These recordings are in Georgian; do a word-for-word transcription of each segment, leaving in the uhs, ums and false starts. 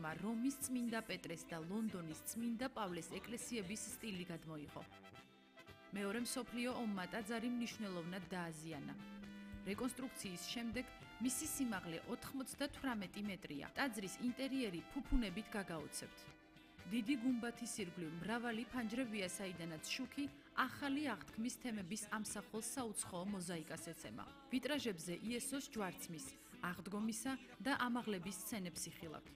ფორმა რომის წმინდა პეტრეს და ლონდონის წმინდა პავლეს ეკლესიების სტილი გადმოიღო. მეორე მსოფლიო ომმა ტაძარი მნიშვნელოვნად დააზიანა. რეკონსტრუქციის შემდეგ მისი სიმაღლე ოთხმოცდათვრამეტი მეტრია. ტაძრის ინტერიერი ფუფუნებით გაგაოცებთ. დიდი გუმბათის ირგვლივ მრავალი ფანჯრებია, საიდანაც შუქი ახალი აღთქმის თემების ამსახველ საუცხოო მოზაიკას ეცემა. ვიტრაჟებზე იესოს ჯვარცმის, აღდგომისა და ამაღლების სცენებს იხილავთ.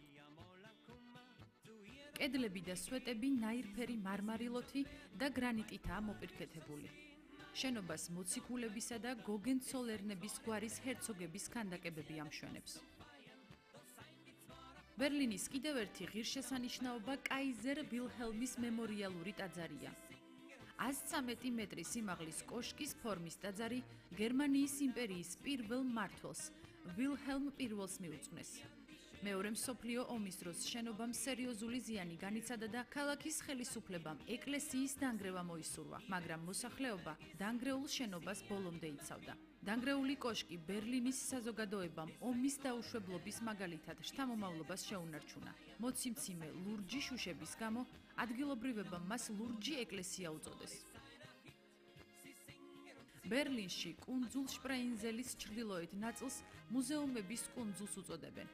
კედლები და სვეტები ნაირფერი მარმარილოთი და გრანიტითაა მოპირკეთებული. შენობას მოციქულებისა და გოგენცოლერნების გვარის ჰერცოგების ქანდაკებები ამშვენებს. ბერლინის კიდევ ერთი ღირსშესანიშნაობა კაიზერ ვილჰელმის მემორიალური ტაძარია. ას ცამეტი მეტრი სიმაღლის კოშკის ფორმის ტაძარი გერმანიის იმპერიის პირველ მმართველს, ვილჰელმ პირველს მიუძღვნეს. მეორე მსოფლიო ომის დროს შენობამ სერიოზული ზიანი განიცადა და ქალაქის ხელისუფლებამ ეკლესიის დანგრევა მოისურვა, მაგრამ მოსახლეობა დანგრეულ შენობას ბოლომდე იცავდა. დანგრეული კოშკი ბერლინის საზოგადოებამ ომის დაუშვებლობის მაგალითად შთამომავლობას შეუნარჩუნა. მოციმციმე ლურჯი შუშების გამო ადგილობრივებმა მას ლურჯი ეკლესია უწოდეს. ბერლინში კუნძულ შპრეინზელის ჩრდილოეთ ნაწილს მუზეუმების კუნძულს უწოდებენ.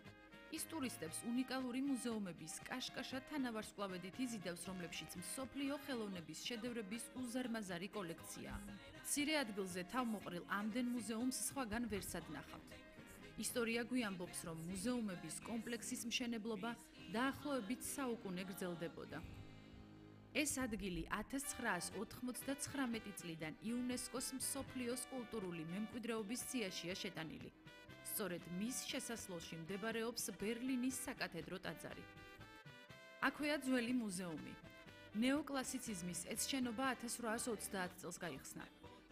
ის ტურისტებს უნიკალური მუზეუმების კაშკაშა თანავარსკვლავედით იზიდავს, რომლებშიც მსოფლიო ხელოვნების შედევრების უზარმაზარი კოლექციაა. მცირე ადგილზე თავმოყრილ ამდენ მუზეუმს სხვაგან ვერსად ნახავთ. ისტორია გვიამბობს, რომ მუზეუმების კომპლექსის მშენებლობა დაახლოებით საუკუნე გრძელდებოდა. ეს ადგილი ათას ცხრაას ოთხმოცდაცხრამეტი წლიდან იუნესკოს მსოფლიოს კულტურული მემკვიდრეობის სიაშია შეტანილი. სწორედ მის შესასვლელში მდებარეობს ბერლინის საკათედრო ტაძარი. აქვეა ძველი მუზეუმი. ნეოკლასიციზმის ეს შენობა ათას რვაას ოცდაათ წელს გაიხსნა.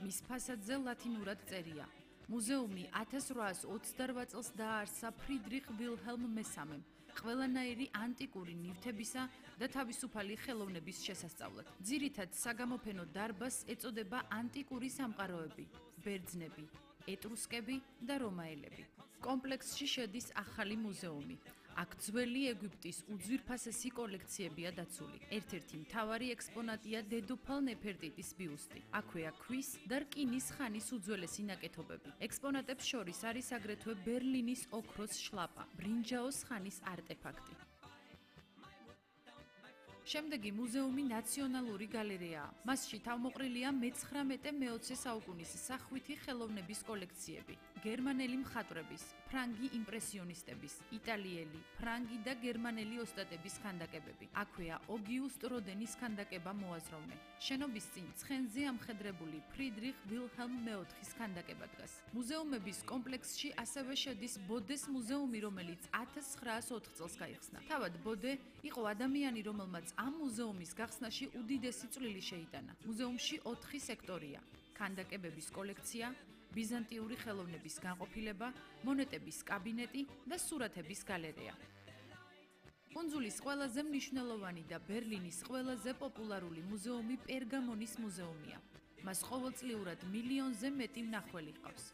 მის ფასადზე ლათინურად წერია. მუზეუმი ათას რვაას ოცდარვა წელს დააარსა ფრიდრიხ ვილჰელმ მესამემ, ყველანაირი ანტიკური ნივთებისა და თავისუფალი ხელოვნების შესასწავლად. ძირითად საგამოფენო დარბაზს ეწოდება ანტიკური სამყაროები, ბერძნები, ეტრუსკები და რომაელები. კომპლექსში შედის ახალი მუზეუმი. აქ ძველი ეგვიპტის უძვირფასესი კოლექციებია დაცული. ერთ-ერთი მთავარი ექსპონატია დედოფალ ნეფერტიტის ბიუსტი. აქვეა ქვის და რკინის ხანის უძველესი ნაკეთობები. ექსპონატებს შორის არის აგრეთვე ბერლინის ოქროს შლაპა, ბრინჯაოს ხანის არტეფაქტი. შემდეგი მუზეუმი ნაციონალური გალერეაა. მასში თავმოყრილია მეცხრამეტე მეოცე საუკუნის სახვითი ხელოვნების კოლექციები. გერმანელი მხატვრების, ფრანგი იმპრესიონისტების, იტალიელი, ფრანგი და გერმანელი ოსტატების ქანდაკებები. აქვეა ოგიუსტ როდენის ქანდაკება მოაზროვნე. შენობის წინ ცხენზე ამხედრებული ფრიდრიხ ვილჰელმ მეოთხის ქანდაკება დგას. მუზეუმების კომპლექსში ასევე შედის ბოდეს მუზეუმი, რომელიც ათას ცხრაას ოთხ წელს გაიხსნა. თავად ბოდე იყო ადამიანი, რომელმაც ამ მუზეუმის გახსნაში უდიდესი წვლილი შეიტანა. მუზეუმში ოთხი სექტორია: ქანდაკებების კოლექცია, ბიზანტიური ხელოვნების განყოფილება, მონეტების კაბინეტი და სურათების გალერეა. კუნძულის ყველაზე მნიშვნელოვანი და ბერლინის ყველაზე პოპულარული მუზეუმი პერგამონის მუზეუმია. მას ყოველწლიურად მილიონზე მეტი მნახველი ჰყავს.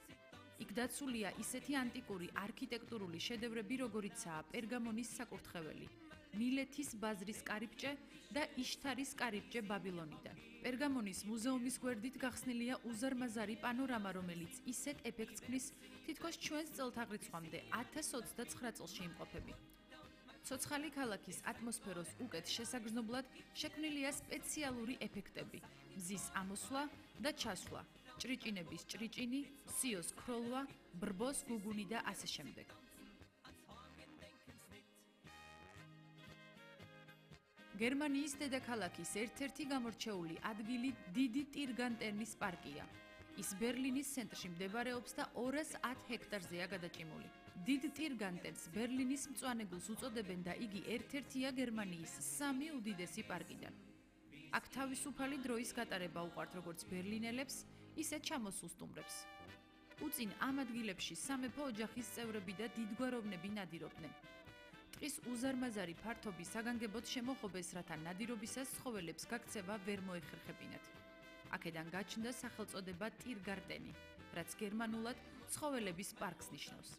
იქ დაცულია ისეთი ანტიკური არქიტექტურული შედევრები, როგორიცაა პერგამონის საკურთხეველი, მილეთის ბაზრის კარიბჭე და იშთარის კარიბჭე ბაბილონიდან. პერგამონის მუზეუმის გვერდით გახსნილია უზარმაზარი პანორამა, რომელიც ისეთ ეფექტს ქმნის, თითქოს ჩვენს წელთაღრიცხვამდე ათას ოცდაცხრა წელში იმყოფები. ცოცხალი ქალაქის ატმოსფეროს უკეთ შესაგრძნობლად შექმნილია სპეციალური ეფექტები: მზის ამოსვლა და ჩასვლა, ჭრიჭინების ჭრიჭინი, სიოს ქროლვა, ბრბოს გუგუნი და ასე შემდეგ. გერმანიის დედაქალაქის ერთ-ერთი გამორჩეული ადგილი დიდი ტირგანტენის პარკია. ის ბერლინის ცენტრში მდებარეობს და ორას ათ ჰექტარზეა გადაჭიმული. დიდ ტირგანტენს ბერლინის მწვანე გულს უწოდებენ და იგი ერთ-ერთია გერმანიის სამი უდიდესი პარკიდან. აქ თავისუფალი დროის გატარება უყვართ როგორც ბერლინელებს, ისე ჩამოსულ სტუმრებს. უწინ ამ ადგილებში სამეფო ოჯახის წევრები და დიდგვაროვნები ნადირობდნენ. ტყის უზარმაზარი ფართობი საგანგებოდ შემოღობეს, რათა ნადირობისას ცხოველებს გაქცევა ვერ მოეხერხებინათ. აქედან გაჩნდა სახელწოდება ტირგარტენი, რაც გერმანულად ცხოველების პარკს ნიშნავს.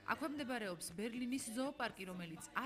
აქვე მდებარეობს ბერლინის ზოოპარკი, რომელიც